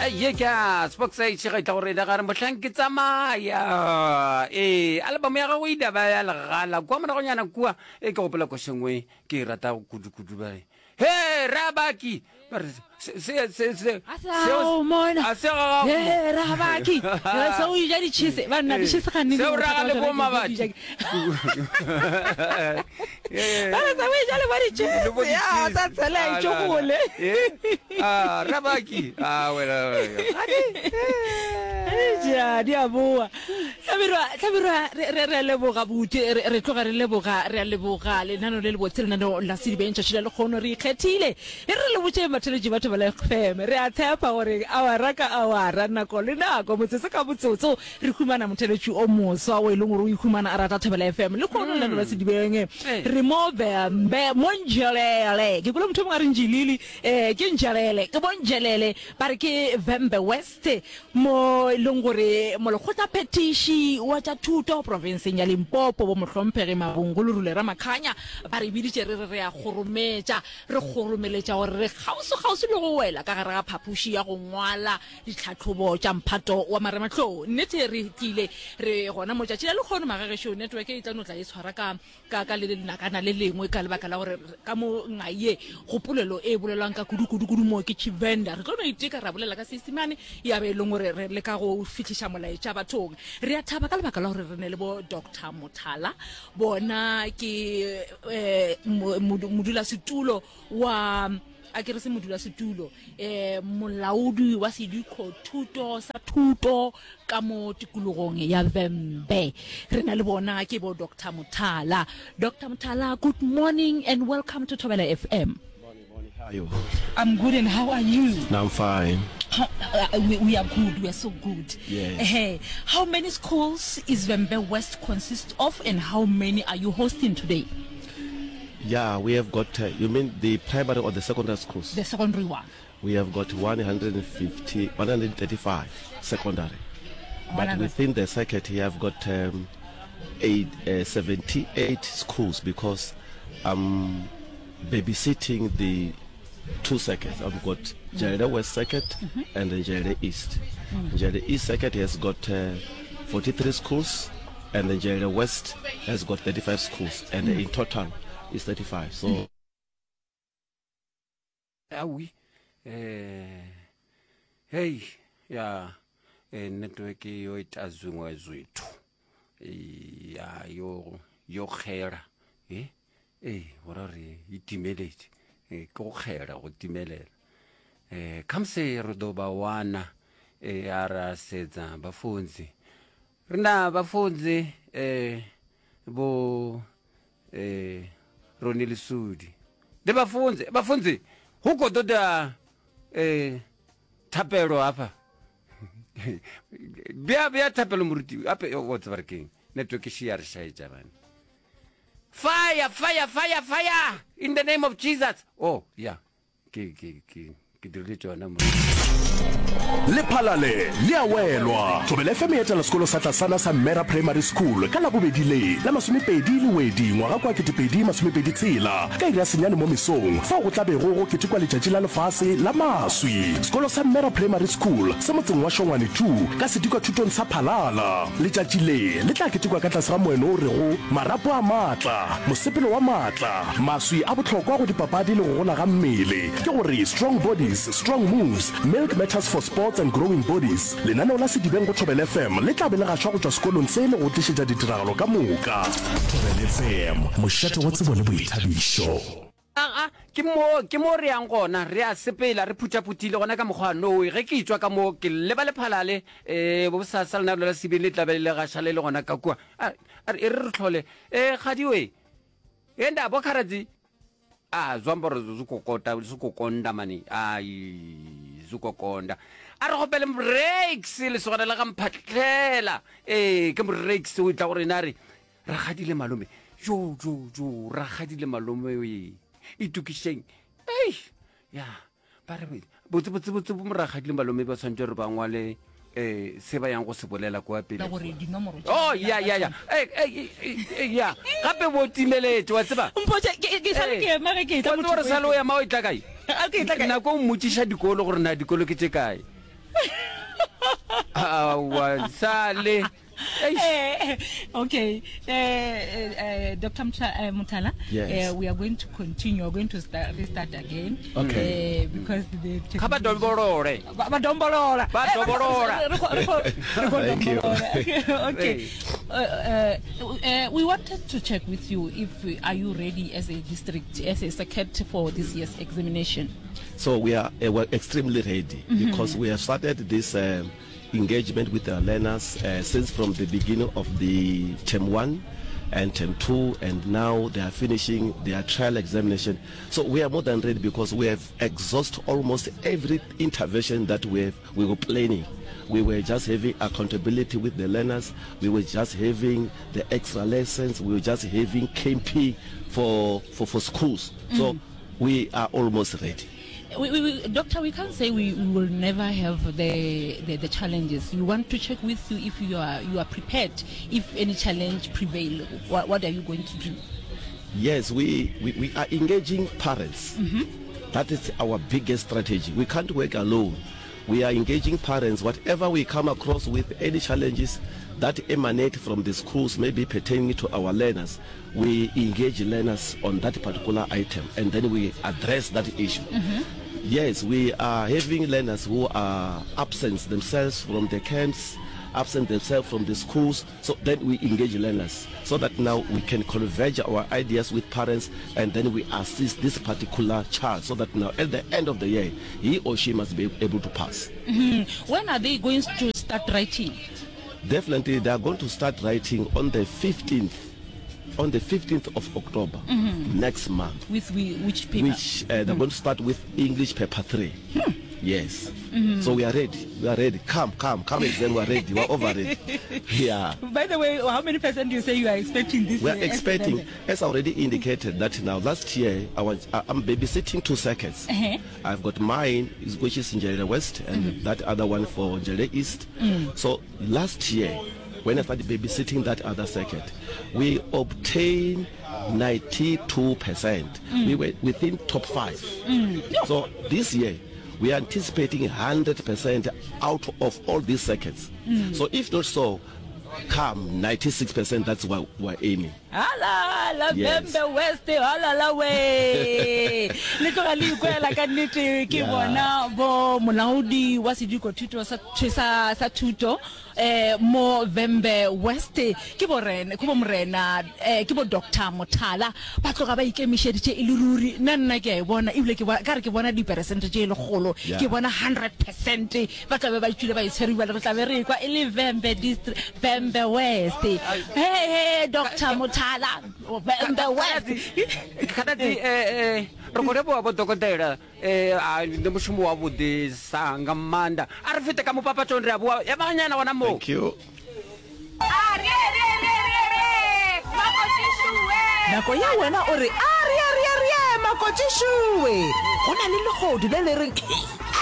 Ye ke a Spox H ga itla gore ga re mohlang ke tsamaya. Ee, album ya gago ile ba ya legala kwa moragonyana kua. E ke gopola košengwe ke e rata kudu-kudu ba re. He, Rabaki. Ba re se se se se A se gago mona. A se ga gago. He, Rabaki. Re se o ja di-cheese. Ba nna di-cheese ga nne. Seo raga le bo mabatho. Ba re se o ja le bo di-cheese. Ya, tsa tshela e tšo gole. Ah, Rabaki. Ah, wena. Ja, di a boa. Hlabirwa, Hlabirwa, re, re, re a leboga buti, re, re tloga re leboga, re a leboga lenano le lebotse, lenano la Sedibeng tšatši la lekgono re ikgethile. E re le botše batheletši ba Thobela FM, re a tshepa gore awara ka awara, nako le nako, motsotso ka motsotso, re humana motheletši o moswa o e leng gore o ikhumana a rata Thobela FM. Lekgono lenano la Sedibeng, re mo Vhembe, mo Nzhelele. Ke kwele motho o mongwe a re Njilili, eh, ke Nzhelele, ke bo Nzhelele, ba re ke Vhembe West. Se, mo e leng gore Molekgotlaphethiši wa tša Thuto profenseng ya Limpopo, Bo Mohlomphegi Mabungu Lerule Ramakhanya, ba re biditše re re re a kgorometša, re kgoromeletša gore re kgauswi-kgauswi le go wela ka gare ga phapoši ya go ngwala ditlhahlobo tša mphato wa marematlou. Nnete re tlile re gona mo tšatši la lehono, magagešo, network e tla no tla e tshwara ka ka ka le lenakana le lengwe ka lebaka la gore ka mo ngaye go polelo e bolelwang ka kudu kudu kudu mo ke Tshivenda re tlo no iteka ra bolela ka Seisemane ya be e leng gore re leka go fihliša molaetša bathong re a thaba ka lebaka la gore re ne le bo Doctor Mothala bona ke eh, modulasetulo wa a ke re se modulasetulo um molaodi wa sedikothuto sa thuto ka mo tikologong ya Vhembe. Re na le bona ke bo Doctor Mothala. Doctor Mothala, good morning and welcome to Thobela FM. Morning, morning. How are you? I'm good and how are you? No, I'm fine. How, uh, we, we are good. We are so good. Yes. Hey, how many schools is Vhembe West consist of and how many are you hosting today? Yeah, we have got, uh, you mean the primary or the secondary schools? The secondary one. We have got 150, 135 secondary. But within the circuit, you have got um, eight, uh, 78 schools because I'm babysitting the two circuits. I've got Nzhelele West Circuit mm -hmm. and Nzhelele East. Mm. Nzhelele East Circuit has got uh, 43 schools and the Nzhelele West has got 35 schools and mm. in total is 35. So mm. Awi eh hey ya eh, network yo ita zwiṅwe zwithu ya yo yo kgela eh ee go ra re e timeletše eh, ke go kgela go timelela eh khamse re ḓo ba wana eh a ra sedza vhafunzi ri na vhafunzi eh vho eh Roni Lesudi ndi vhafunzi vhafunzi hu khou ḓo ḓa eh thapelo hafha bja bja thapelo moruti ape o tseba re keng network e ya re šaetša bane fire fire fire fire in the name of jesus oh yeah ke ke ke ke dirile tšona mo Lephalale le a welwa. Thobela FM e etela sekolo sa tlasana sa Mmera Primary School ka Labobedi le la masomepedi Lewedi ngwaga kwa 2026 ka iri ya senyane mo mesong fao go tla bego go ketekwa letšatši la lefase la maswi. Sekolo sa Mmera Primary School se motseng wa Shongwane 2 ka sedikwathutong sa Phalala. Letšatši le le tla ketekwa ka tlase ga moeno o rego Marapo a Maatla, Mosepelo wa Maatla. Maswi a bohlokwa go dipapadi le go gola ga mmele, ke gore Strong Bodies, Strong Moves, Milk Matters for Sports and Growing Bodies. Lenaneo la Sedibeng go Thobela FM le tla be le gašwa go tšwa sekolong se le go tlišetša ditiragalo ka moka. Thobela FM, mošate wa tsebo le boithabišo. Aa, ke mo, ke mo re yang gona. Re a sepela, re phutha-phuthile gona ka mokgwa nowe. Ge ke etšwa ka mo, ke leba Lephalale, ee, bosasa lenaneo la Sedibeng le tla be le gaša le le gona ka kua. A, a re, e re re hlole. Ee, kgadi we. Enda bo kharadzi a zwi amba uri zwi khou kota zwi khou konda mani ai zwi khou konda a re gopele mrex lesogana la ga mphatlhela ee ke mrex o tla gore ena a re ragadile malome jo jo jo ragadile malome e itokišeng ei ya Ba re, Botse, botse, botse, bomoragadile malome ba tshwanetse gore ba ngwale um se ba yang go se bolela kwa pele. Gore dinomoro tša Oh, ya, ya, ya. Eh, eh, eh, eh, ya. Gape bo timeletše, wa tseba. Mpotše, ke, ke sale ke ema ge ke etla Wa tseba gore sale o ema o etla kae? A ke etla kae? Nako o mmotšiša dikolo gore na dikolo ke tše kae. Aowa, sale. Eish. Eh, okay uh, uh, Dr. Mutha, uh, Muthala, Yes. uh, we are going to continue. We are going to start, restart again. Okay. Uh, because the Kha vha dombolole. Ba ba dombolola. Ba Eh, dobolola. re kho- re kho- re kho Thank you. dombolola. Okay. Hey. Uh, uh, uh, we wanted to check with you if uh, are you ready as a district, as a circuit for this year's examination? So we are uh, we're extremely ready mm -hmm. because we have started this um, engagement with our learners uh, since from the beginning of the term 1 and term 2 and now they are finishing their trial examination. So we are more than ready because we have exhausted almost every intervention that we have, we were planning. We were just having accountability with the learners. We were just having the extra lessons. We were just having KMP for, for, for schools. Mm. So we are almost ready. We, we, we, doctor, we can't say we, we will never have the, the, the challenges. We want to check with you if you are, you are prepared. If any challenge prevail, what, what are you going to do? Yes, we, we, we are engaging parents. Mm -hmm. That is our biggest strategy. We can't work alone. We are engaging parents. Whatever we come across with any challenges that emanate from the schools, maybe pertaining to our learners, we engage learners on that particular item and then we address that issue. Mm -hmm. Yes, we are having learners who are absent themselves from the camps, absent themselves from the schools. So then we engage learners so that now we can converge our ideas with parents and then we assist this particular child so that now at the end of the year, he or she must be able to pass. Mm -hmm. When are they going to start writing? Definitely, they are going to start writing on the 15th on the 15th of October mm -hmm. next month. With we, which paper? Which uh, they're mm. going to start with English paper 3. Hmm. Yes. Mm -hmm. So we are ready. We are ready. Come, come, come exam. We are ready. We are over ready. Yeah. By the way, how many percent do you say you are expecting this We are expecting, as I already indicated, that now last year I was I'm babysitting two circuits. Uh -huh. I've got mine, which is Njelele West, and mm -hmm. that other one for Njelele East. Mm. So last year when I started babysitting that other circuit, we obtained 92%. Mm. We were within top five. Mm. So this year, we are anticipating 100% out of all these circuits. Mm. So if not so, come 96% that's what we're aiming. Hala la yes. Vhembe West hala la we le tloga le ikwela ka nnete ke bona bo molaodi wa sediko thuto sa sa sa thuto eh mo Vhembe West ke bo rena ke bo morena eh ke bo Doctor Mothala ba tloga ba ikemišeditše e le ruri nna nna ke a e bona ebile ke ka re ke bona diperesente tše lekgolo ke bona 100% ba tla be ba tšwile ba itshwere bjale re tla be re ekwa e le Vhembe district Vhembe West he he Doctor Mothala Vhembe West Khaladzi eh eh re khou livhuwa vho dokotela eh a ndi mushumo wa vhuḓi sa nga maanḓa a ri fite ka mupapatoni ri a vhuwa ya vhanyana wana mo Thank you. Nako ya wena o re, Arieerierie, makotšišowe! Go na le lehodu le le reng,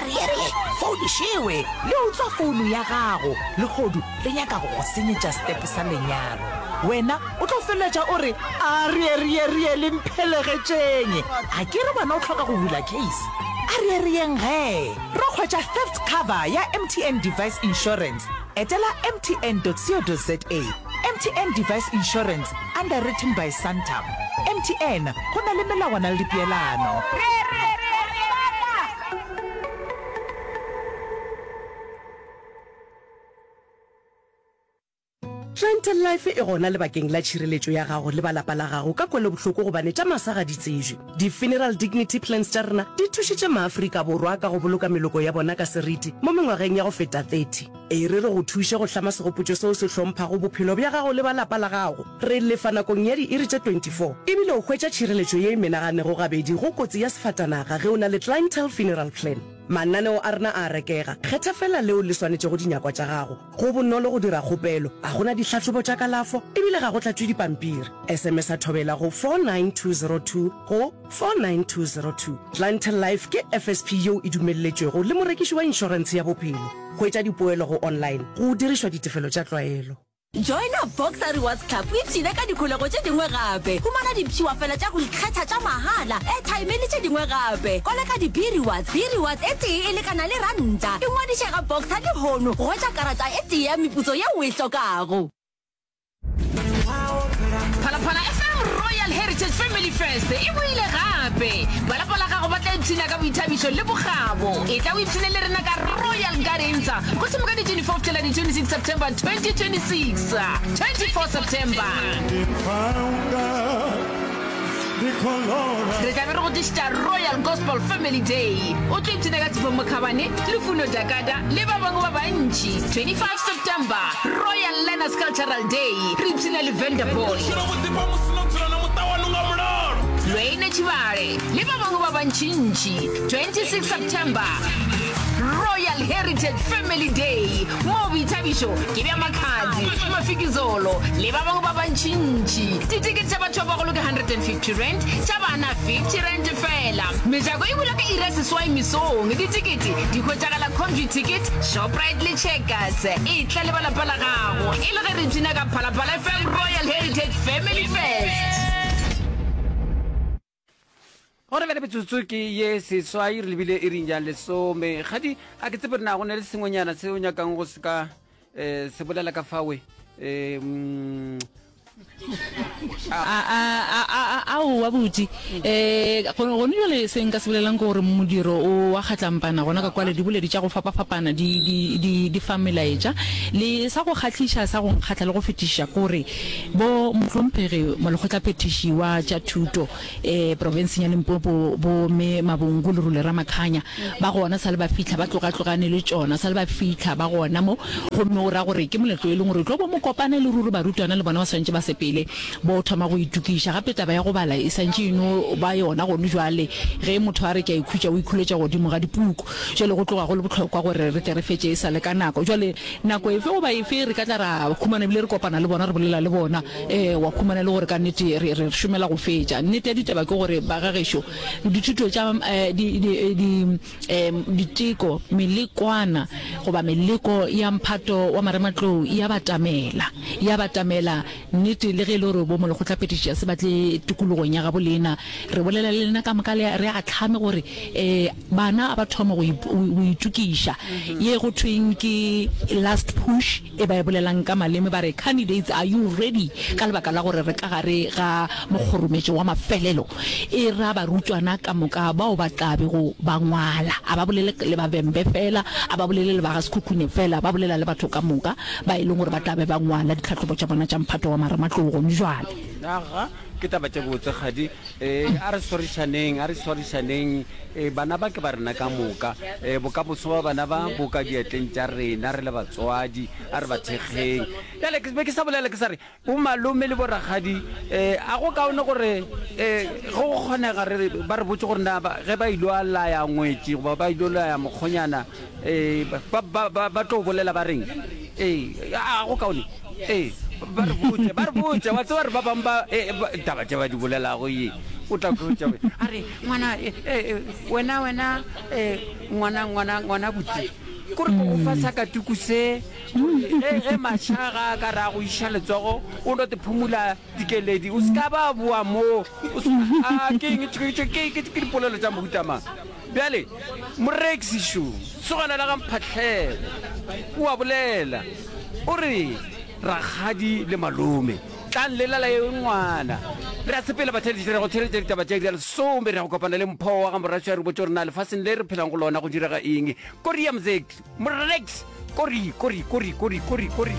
Arierie, founišewe! Le utswa founu ya gago. Lehodu le nyaka go go senyetša setepe sa lenyalo. Wena o tlo feleletša o re, Arierierie, le mphelegetšeng! A ke re wena o hloka go bula case? Arierieng gee! Ro hwetša theft cover ya MTN Device Insurance. Etela mtn.co.za. MTN Device Insurance, underwritten by Santam. MTN, go na le melawana le dipeelano. Clientele Life e gona lebakeng la tšhireletšo ya gago le ba lapa la gago ka kwelobohloko gobane tša masa ga di tsejwe. Di-funeral dignity plans tša rena di thušitše maAfrika Borwa ka go boloka meloko ya bona ka seriti mo mengwageng ya go feta 30. E re re go thuše go hlama segopotšo seo se hlomphago bophelo bja gago le ba lapa la gago. Re lefa nakong ya diiri tše 24 ebile o hwetša tšhireletšo ye e menaganego gabedi go kotsi ya sefatanaga ge o na le Clientele Funeral Plan. Mananeo a rena a a rekega, kgetha feela leo le swanetšego dinyakwa tša gago. Go bonolo go dira kgopelo, ga go na dihlahlobo tša kalafo e bile ga go tlatšwe dipampiri. SMS-a Thobela go 49202 go 49202. Clientele Life ke FSP yeo e dumelletšwego le morekiši wa inšorentshe ya bophelo. Hwetša dipoelo go online go dirišwa ditefelo tša tlwaelo. Joina Boxer Rewards Club o ipshine ka dikholego tše dingwe gape. Humana dipshiwafela tša go ikgetha tša mahala, airtime le tše dingwe gape. Koleka di-B-Rewards, B-Rewards e tee e lekana le ranta. Ingwadiše ga Boxer lehono go hwetša karata e tee ya meputso yeo o e hlokago. Phalaphala FM Royal Heritage Family Fest e boile gape! Ba lapa la gago ba tla ipshina ka boithabišo le bokgabo. Etla o ipshine le rena ka Royal Gardens go thoma ka di 24 go fihlela di 26 September 2026. 24 September. Re tla be re go tlišetša Royal Gospel Family Day. O tlo ipshina ka Tshepo Mokhabane, Lufuno Dakada le ba bangwe ba bantši. 25 September, Royal Learners Cultural Day. Re ipshina le Venda Boy, Lwayne Tshibale le ba bangwe ba bantšintši. 26 September, Royal Heritage Family Day, moo boithabišo ke bja Makhadzi, Mafikizolo le ba bangwe ba bantšintši. Ditekete tša batho ba bagolo ke R150, tša bana R50 feela. Mejako e bulwa ka iri ya seswai mesong. Ditekete di hwetšagala Computicket, Shoprite le Checkers. Etla le ba lapa la gago e le ge re ipshina ka Phalaphala FM Royal Heritage Family Fest. Gona bjale metsotso ke ye seswai re lebile iring ya lesome. Kgadi, a ke tsebe re na go na le sengwenyana se o nyakang go se ka um se bolela ka fawe um Aowa buti, um gone jale se nka se bolelang ke gore modiro o wa kgatlampana gona ka kwale diboledi tša go fapafapana di, di, di, di fa melaetša. Le sa go kgahliša sa go nkgahla le go fetiša ke gore bo mohlomphegi molekgotlaphethiši wa tša thuto E, profenseng ya Limpopo, bo Mme Mabungu le Rule Ramakhanya ba gona sa le ba fihla, ba tlogatlogane le tšona sa le ba fihla ba gona mo. Gomme o ra gore ke moletlo e leng gore o tlo bo mokopana le ruri barutwana le bona ba swantše ba sepele bo thoma go itokiša. Gape taba ya go bala e santše e no ba yona gone jwale, ge motho a re ke a ikhutša o ikhuletša godimo ga dipuku. Jwale go tloga go le bohlokwa gore re tle re fetše e sa le ka nako. Jwale nako efe goba efe re ka tla ra humana ebile re kopana le bona re bolela le bona. Ee, wa humana e le gore ka nnete re, re šomela go fetša. Nnete ya ditaba ke gore, bagagešo, dithuto tša di, di, di, um, diteko, melekwana goba meleko ya mphato wa marematlou e a batamela, e a batamela. Nnete, le ge e le gore bo molekgotlaphethiši ga se ba tle tikologong ya gabo lena, re bolela le lena ka moka, le, re ahlame gore um bana a ba thome go, go itokiša. Ye go thweng ke last push. E ba e bolelang ka maleme ba re, Candidates, are you ready? Ka lebaka la gore re ka gare ga mokgorometšo wa mafelelo, e ra barutwana ka moka bao ba tla bego ba ngwala. A ba bolele le ba Vhembe fela, a ba bolele le ba ga Sekhukhune fela, ba bolela le batho ka moka ba e leng gore ba tla be ba ngwala ditlhahlobo tša bona tša mphato wa marematlou gone jwale. Aga, ke taba tše botse, kgadi. Ee, a re swarišaneng, a re swarišaneng. Ee, bana ba ke ba rena ka moka. Ee, bokamoso ba bana ba bo ka diatleng tša rena re le batswadi. A re ba thekgeng. Bjale ke be ke sa bolela ke sa re, bomalome le borakgadi, ee, a go kaone gore, ee, ge go kgonega re, ba re botše gore na ba, ge ba ilo a laya ngwetši goba ba ilo laya mokgonyana, ee, ba, ba, ba, ba tlo bolela ba reng? Ee, a go kaone? Ee, ba re botše, ba re botše, wa tseba re ba bangwe ba, e, ba, taba tše ba di bolelago ye, o tla kwetša a re, ngwana, e, e, wena, wena, e, ngwana, ngwana, ngwana buti, kore ko go fa sakatuku se, ge, ge mašaga a ka re a go iša letsogo, o no te phumula dikeledi, o se ka ba boa moo, o se, a, ke eng, ke, ke, ke, ke, ke dipolelo tša mohuta mang? Bjale, moreksi šo, sogana la ga Mphahlele, o a bolela, o re, Rakgadi le malome, tlang le lala ye ngwana. Re a sepela, batheeletši, re ya go theeletša ditaba tša iri ya lesome, re ya go kopana le Mpho wa ga Moraswi a re botše gore na lefaseng le re phelang go lona go direga eng. Kori ya mzek, moreksi, kori, kori, kori, kori, kori, kori.